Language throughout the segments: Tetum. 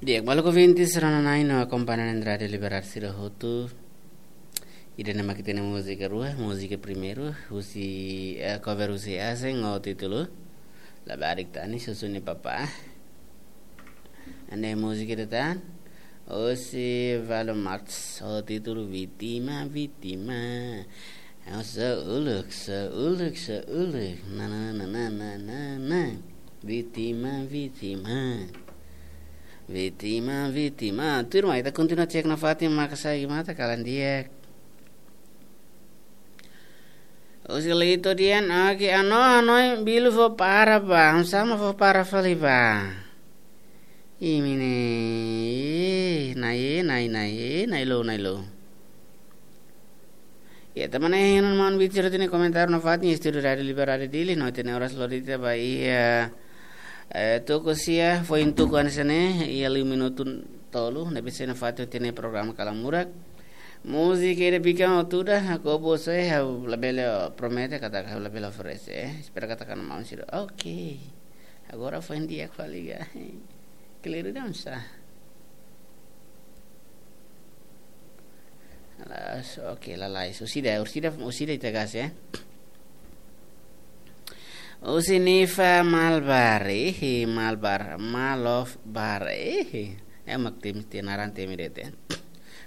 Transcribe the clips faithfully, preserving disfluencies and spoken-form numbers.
Di'ak, maluk ouvintes rona-na'in no akompañante Rádiu Liberdade sira hotu. Ida-ne'e mak ita-nia múzika rua, múzika primeiru, husi, eh, cover husi Aseng ho títulu Labarik Tanis, husi nia papá. Ida-ne'e múzika ida tan, husi Valo Marx, ho títulu Vítima, Vítima. Ha'u sá uluk, sá uluk, sá uluk. Na, na, na. Vítima, vítima. Vítima, vítima. Turma, ita kontinua cek nafatin maka sai mata kalan di'ak. Husi Lito dehan, oke, ano, ano, bilu fó para ba, sama fó para fali ba. Imi ne'e, nai, nai, nai, nai lo, nai lo. Ya, teman eh, yang mau bicara ini komentar nafatin, Estúdiu Rádiu Liberdade Dili, no, ita-nia oras lori tiha ba iha, eh, tuku sia, foin tuku hanesan ne'e, iha liu minutu tolu, ne'ebé sei nafatin ita-nia programa Kalamurak. Múzika ida bikan ho tuda, ha'u bosé, ha'u labele promete katak ha'u labele oferese, eh. Espera katak maun sira. Oke. Agora foin di'ak fali ga. Keliru dam sa. Alas, oke, lalais. Orsida, orsida, orsida ita gas, eh. Husi Nifa Malbar, eh, Malbar, Malof Bar, eh. Eh, mak temi, temi naran temi de'it.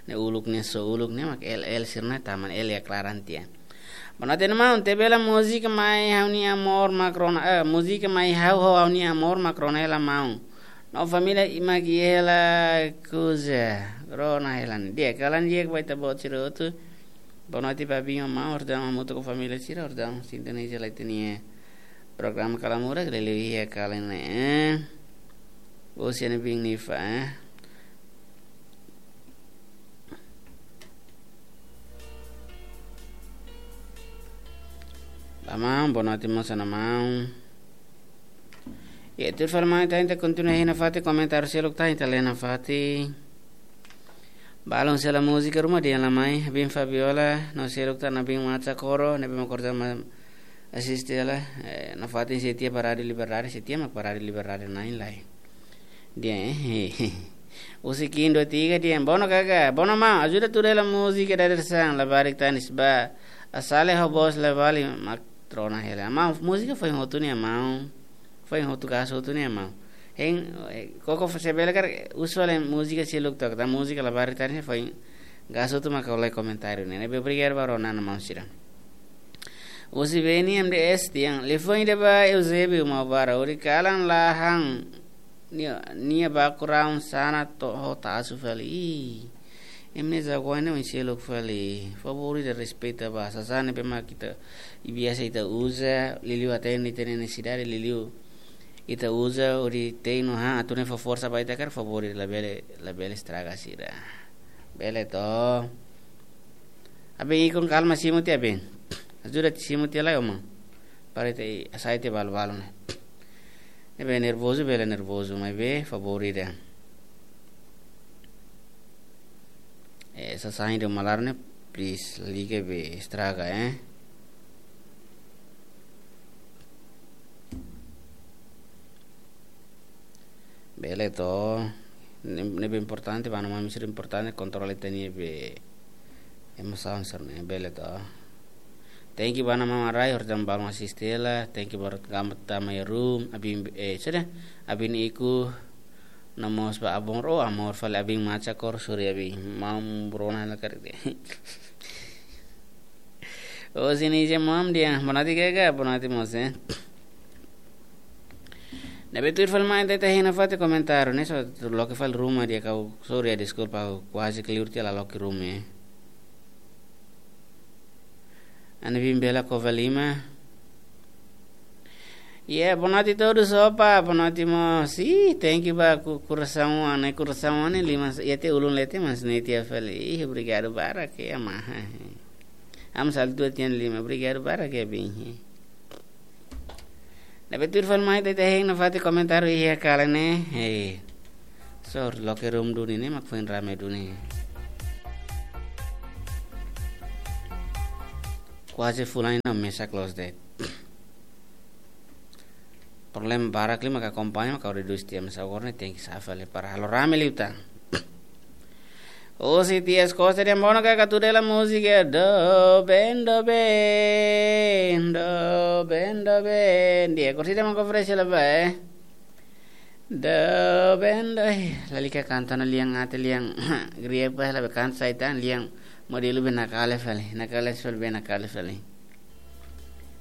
Ne'e uluk ne'e, só uluk ne'e, mak L L sira-ne'e, tama L ya klaran tiha. Bonoite maun, tebela múzika mai ha'u-nia amor mak rona, eh, múzika mai ha'u ho ha'u-nia amor mak rona hela maun. No família mak iha hela kuza, rona hela. Di'ak, kalan di'ak ba ita-boot sira hotu. Bonoite ba biin maun, orsida hamutuk ho família sira, orsida sintoniza lai ita-nia programa Kalamurak, lele iha kalan ne'e, eh. Husi nia biin Nifa, eh. Ba maun, bonoite mós ona maun. Ya, tuir fali mai ita, ita kontinua iha nafatin komentáriu seluk tan, ita lee nafatin. Balun sela múzika ruma dehan la mai, biin Fabiola, no seluk tan, biin Macha Koro, ne'ebé mak orsida mak asiste hela, eh, nafatin sei tiha ba Rádiu Liberdade, sei tiha mak ba Rádiu Liberdade na'in lai. Dehan, eh, husi Kindo tiga dehan, bono kaka, bono maun, ajuda tuda hela múzika dadeer-saan, Labarik Tanis ba, Asale ho Bos Lavali mak rona hela. Maun, múzika foin hotu ne'e maun. Foin hotu gas hotu ne'e maun. Hein, eh, koko fo se bele kar usual múzika seluk tok, ta múzika Labarik Tanis foin gas hotu mak ha'u lee komentáriu ne'e. Ne'ebé obrigadu ba rona-na'in maun sira. Husi Beni M D S dehan, liafuan ida ba Eusébio Maubara, hori kalan la han nia, nia background sana to ho tasu fali. Ih, imi-nia zaguein ne'e oin seluk fali. Favór ida respeita ba sasán ne'ebé mak ita, i biasa ita uza, liuliu atende ita-nia nesesidade, liuliu ita uza hodi te'in no han, atu ne'e fó forsa ba ita karik, favór ida labele, labele estraga sira. Bele to. Aben ikun kalma simu tiha aben. Ajuda tiha simu tiha lai, ó maun. Para ita hasai tiha balu-balu ne'e. Ne'ebé nervozu, bele nervozu, maibé favór ida. Eh, sasán ida malaron ne'e, please, liga be estraga, eh. Bele to, ne'e, ne'ebé importante, ba no mami sira importante, kontrola ita-nia be emosaun sira-ne'e, bele to. Thank you ba Ana Mama Rai, orsida balun asiste hela, thank you ba gamat tama iha room, abin, eh, sudah, abin iku, no mós ba abon ro, amor fali abin Macha Koro, sorry abin, maun rona hela karik de'it. Oh, sini je mam dia, bonoite kaka, bonoite mós, eh. Ne'ebé tuir fali mai ita, ita hein nafatin komentáriu ne'e, só loke fali ruma di'ak, ha'u, sorry ya, deskulpa, ha'u kuaze keliru tiha la loke ruma, eh. Ana biin Bela Kovalima. Ya, bonoite todos, opa, bonoite mós. Ih, thank you ba ku-, kurasaun, ne'e kurasaun ne'e lima, ya te ulun leten mas ne'e tiha fali. Ih, obrigadu barak ya, maun. Am sal dua tian lima, obrigadu barak ya, biin. Ne'ebé tuir fali mai ita, ita hein nafatin komentáriu iha kalan ne'e. Hei. Só loke ruma duni ne'e mak foin rame duni. Kuaze fulan ne'e mesak loos de'it. Problema barak liu maka akompaña, maka redús tiha, mas agora ne'e tenke safali para halo rame liután. Husi Tias Costa dehan: "Bono kaka, tuda hela múzika doben, doben, doben, doben." Di'ak, orsida maka oferese hela ba, eh. Doben, doben. Lalika kanta ona lian ate lian. Griek ba hela be kanta sai tan lian. Modelu be nakale fali, nakale fali be nakale fali.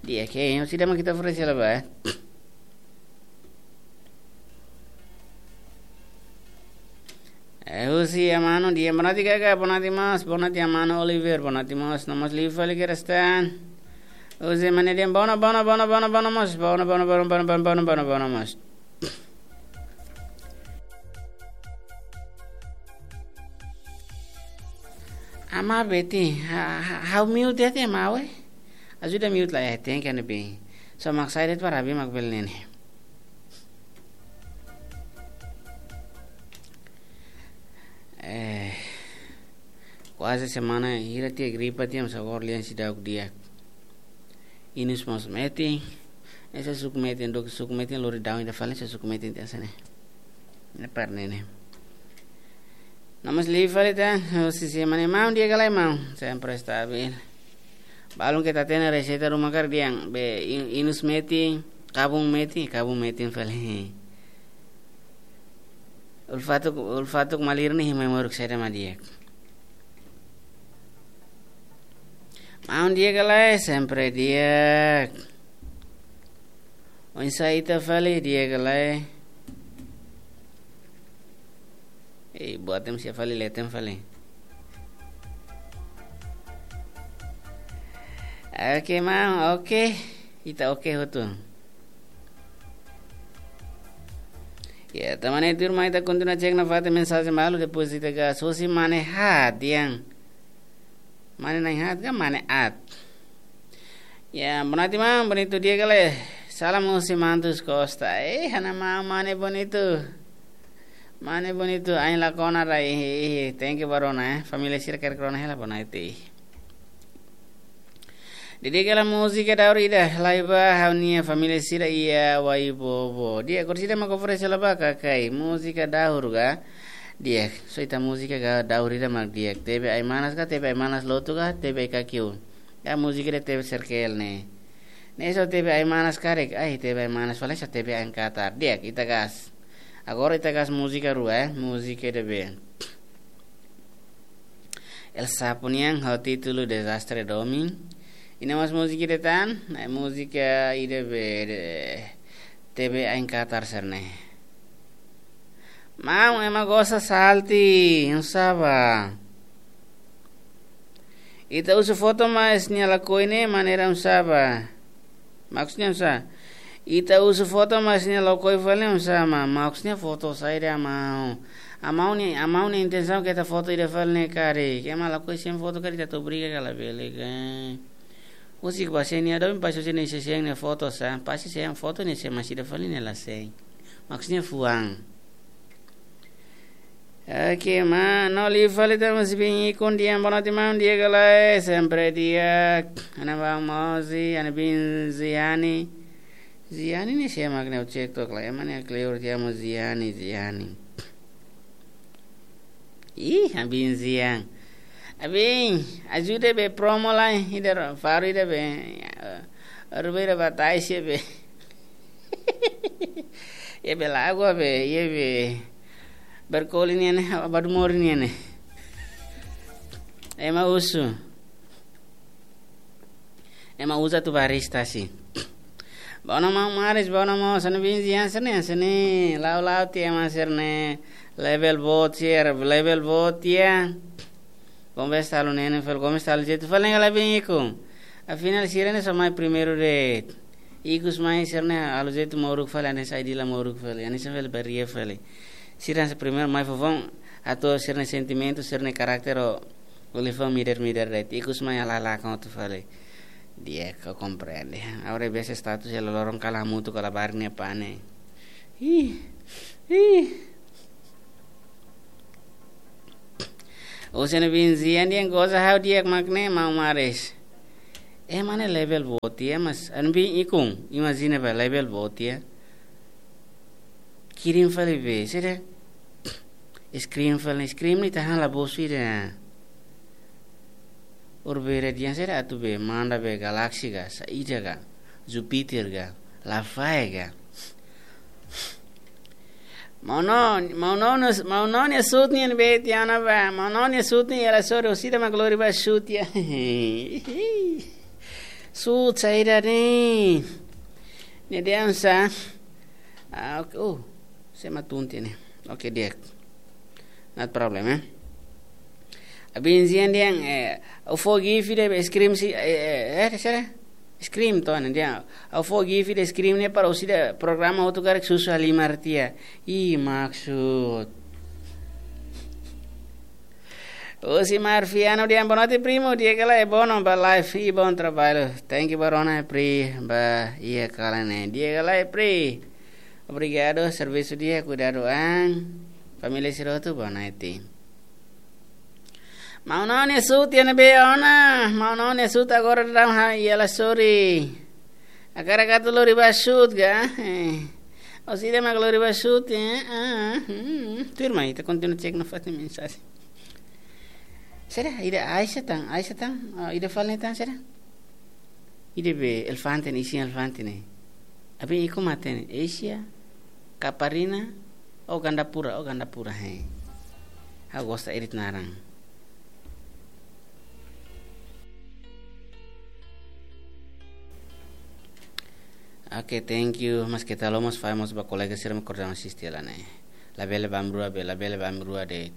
Di'ak, orsida maka ita oferese hela ba, eh. Eh, husi Amano dehan: "Bonatin kaka, bonatin mós, bonatin Amano Oliver, bonatin mós, no mós liu fali kedas tan." Husi Mane dehan: "Bono, bono, bono, bono, bono mós, bono, bono, bono mós." Ama Betty, ha, ha, ha'u mute tiha, ama, we. Ajuda mute lai, eh, tenke, ne'ebé. So mak sai de'it para abi mak bele ne'e. Eh, kuaze semana hira tiha gripa tiha, mas agora lian seidauk di'ak. Inus mós metin, ne'e sei suku metin, dok suku metin lori daun ida fali, sei suku metin tiha hanesan ne'e. Ne'e para ne'e ne'e. No mós liu fali tan, husi Mane: "Maun, di'ak ka lae, maun?" "Sempre estabil." Balun ke ita hatene reseita ruma karik dehan, be in-, inus metin, kabun metin, kabun metin fali. Ulfatuk, ulfatuk malir ne'e, mai moruk saida mak di'ak. "Maun, di'ak ka lae?" "Sempre di'ak." "Oinsá ita fali, di'ak ka lae?" Eh, buat ema sira fali, leten fali. Oke, maun, oke. Ita oke hotu. Ya, tan ne'e tuirmai ita kontinua cek nafatin mensajen balu, depois ita gas. Husi Mane Hat dehan. Mane Nai Hat ka Mane At? Ya, bonatin maun, bonitu, di'ak ka lae? Salam husi Mantus Costa. Eh, ha'u-nia maun Mane Bonitu. Mane Bonitu, ain la kona rai, eh, eh, thank you ba rona, eh. Família sira karik rona hela, bonatin. Di'ak ka lae múzika daur ida, lai ba ha'u-nia família sira iha Waibobo. Di'ak, orsida maka oferese hela ba kakai, múzika daur ka? Di'ak, só ita múzika ka daur ida mak di'ak. Tebe Ai-Manas ka, Tebe Ai-Manas Lotu ka, Tebe Ai-Kakiu. Ya, múzika ida Tebe Serkel ne'e. Ne'e só Tebe Ai-Manas karik, ai, Tebe Ai-Manas fali só Tebe Ain Katar. Di'ak, ita gas. Agora ita gas múzika rua, eh, múzika ida be. El Sapo nian ho títulu Dezastre Domin. I no mós múzika ida tan, ne'e múzika ida be, de, Tebe Ain Katar sira-ne'e. Maun, ema gosta salti, oinsá ba? Ita husu foto maibé nia lakohi ne'e maneira oinsá ba? Maksudnya oinsá? Ita husu foto maibé nia lakohi fali oinsá, ma-, maksudnya foto saida, maun? Maun nia, maun nia intensaun keta foto ida fali ne'e karik. Ema lakohi sein foto karik ita atu obriga ka labele ka. Husik ba sein nia domin, pasti sein nia, sein nia foto sá. Pasti sein foto nia, sein maibé ida fali nia la sein. Maksudnya fuan. Oke, maun, no liu fali tan husi Bin Ikun dehan: bonatin maun, di'ak ka lae? Sempre di'ak. Ha'u-nia maun Mozi, ha'u-nia bin Ziani. Ziani ne'e sé mak ne'e, ha'u cek tok lai, ema ne'e kleur tiha, maun Ziani, Ziani. Ih, abin Zian. Abin, ajuda be promo lai, ida ro-, faru ida be. Rubira batai se be. Iha be lagoa be, iha be. Berkoli nian ne'e, Badumori nian ne'e. Ema husu. Ema uza atu barista si. Bono maun Maris, bono maun, hanesan bin Zian sira-ne'e, hanesan ne'e. La'o la'o tiha ema sira-ne'e. Level boot sira, level boot tiha. Gomes halo ne'e ne'e fali, Gomes halo jeitu fali ne'e ka lae bin Ikun. Afinál sira-ne'e só mai primeiru de'it. Ikus mai sira-ne'e halo jeitu moruk fali, hanesan Aidila moruk fali, hanesan fali baria fali. Sira hanesan primeiru mai foufoun, atu sira-nia sentimentu, sira-nia karakter ho ulifan midar-midar de'it. Ikus mai halahalakan hotu fali. Di'ak, ha'u komprende. Agora be status iha loroloron kala hamutuk, kala barak nia pane. Ih, ih. Husi ha'u-nia bin Zian dehan goza ha'u di'ak mak ne'e, maun Maris. Ema ne'e level boot tiha, mas ha'u-nia bin Ikun, imajina ba, level boot tiha. Kirim fali be, sira. Scream fali, scream ne'e ita han la bosu ida. Urbe ida dian sira atu be, manda be galáxia ka, saida ka, Júpiter ka, la fahe ka. Maun Noni, maun Noni, maun Noni nia sut nian be tiha ona ba, maun Noni nia sut nian ela sori, orsida mak lori ba sut ya. Sut saida ne'e. Ne'e dehan sá. Ah, ok. Oh, sé mak tun tiha ne'e. Ok, di'ak. Not problem, eh. Abin zian dian, eh, ha'u fó gift ida scream si, eh, eh, eh, sira? Scream to, ne'e dian. Ha'u fó gift ida scream ne'e para orsida programa hotu karik susu halimar tiha. Ih, maksud. Osimar Fiano dehan boa noite, primo. Di'ak ka lae, bom ba live e bom trabalho. Thank you, Barona, pri, ba, iha kala ne'e. Di'ak ka lae, pri. Obrigadu, servisu di'ak, kuidadu an. Família sira hotu, boa noite. Maun Noni nia sut iha ne'ebé ona? Maun Noni nia sut agora daudaun ha, iha la sori. Hakarak atu lori ba sut ka? Eh. Orsida mak lori ba sut, eh? Ah, hmm. Tuirmai, ita kontinua cek nafatin mensajen. Sira, ida Aisha tan, Aisha tan, ah, ida fali tan, sira. Ida be elefante ne'e, isin elefante ne'e. Abin ikun mate ne'e, Asia, Kaparina, ou Gandapura, ou Gandapura, he. Ha'u gosta edit naran. Ok, thank you. Maske ita la'o mós, fahe mós ba kolega sira mak koordenasaun sira ne'e. Labele ba ami rua be, labele ba ami rua de'it.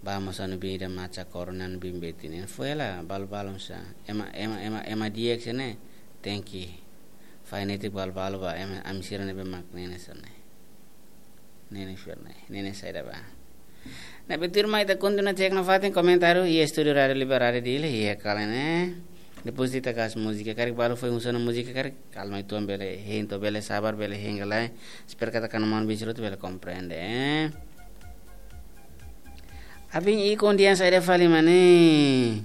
Ba mós anu bida maca korona anu bim beti ne'e. Foin hela balu-balu sá. Ema, ema, ema, ema di'ak sira ne'e. Thank you. Fahe netik balu-balu ba ema ami sira ne'ebé mak ne'e sira ne'e. Ne'e sira ne'e. Ne'e saida ba. Ne'ebé tuirmai ita kontinua cek nafatin komentáriu iha estúdiu Rádiu Liberdade Dili, iha kala ne'e. Depois ita hakat múzika karik balu foin husu ona múzika karik. Kalma uitoan bele hein to'o bele sabar bele hein ka lae. Espera katak maun-alin sira hotu bele komprende, eh. Abin ikun dehan saida fali mak ne'e.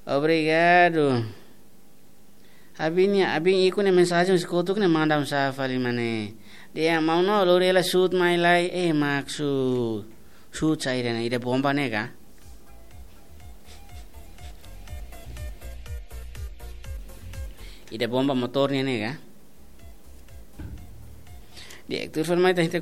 Obrigadu. Abin nia, abin ikun nia mensajen husi kotuk ne'e manda husi fali mak ne'e. Dehan maun Noni lori hela sut mai lai, eh, maksud. Sut saida ne'e, ida bomba ne'e ka? Ida bomba motór nian ne'e ka? Di'ak, tuir fali mai ita, ita